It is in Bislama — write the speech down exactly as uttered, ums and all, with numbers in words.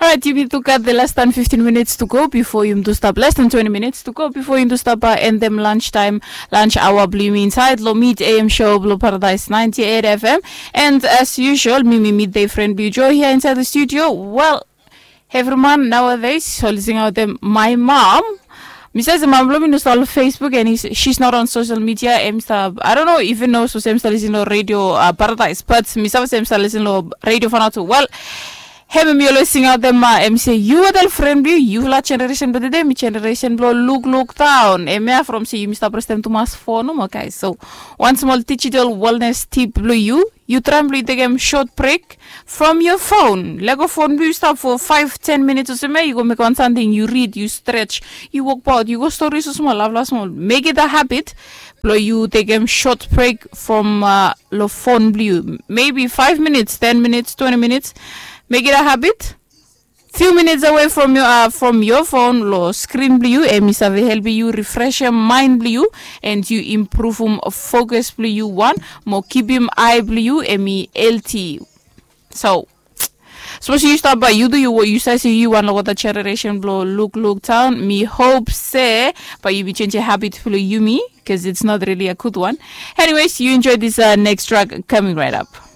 Alright, yumi tu gat the less than fifteen minutes to go before yumi tu stap, less than twenty minutes to go before yumi tu stap uh, end them lunch time, lunch hour blue yumi inside lo mid A M show blo Paradise ninety-eight F M. And as usual, mi mi midday friend blue Joe here inside the studio. Well, everyone nowadays so listening out them, my mom. Mi save se mam blo mi no stap lo Facebook and he's, she's not on social media. Em stap, I don't know even know so se em stap listen lo radio uh, Paradise, but mi save se em stap listen lo radio fanatu. Well, hemi mi always sing out them uh, em se yu adel friend blue yu la generation blo today mi generation blo look look down. Em ya from se yumi stap restem tumas fo nomo guys. So one small digital wellness tip blue you. Yu traem blong yu tekem short break from your phone. Lego phone blong yu stap for five ten minutes olsem ya yu go mekem wan samting yu read, yu stretch, yu wokbaot, yu go stori so smol, laflaf smol. Make it a habit blong yu tekem short break from uh, lo phone blong yu. Maybe five minutes, ten minutes, twenty minutes. Make it a habit. Few minutes away from your, uh, from your phone lo screen blong yu em i save helpim yu refreshem mind blong yu and yu improvem focus blong yu wan mo kipim ai blong yu em i healthy. So suppose yu stap bae yu tu yu yu save se yu wan lo that generation blong look look down. Mi hope se bae yu bi change habit blong yumi because it's not really a good one. Anyways, you enjoy this uh, next track coming right up.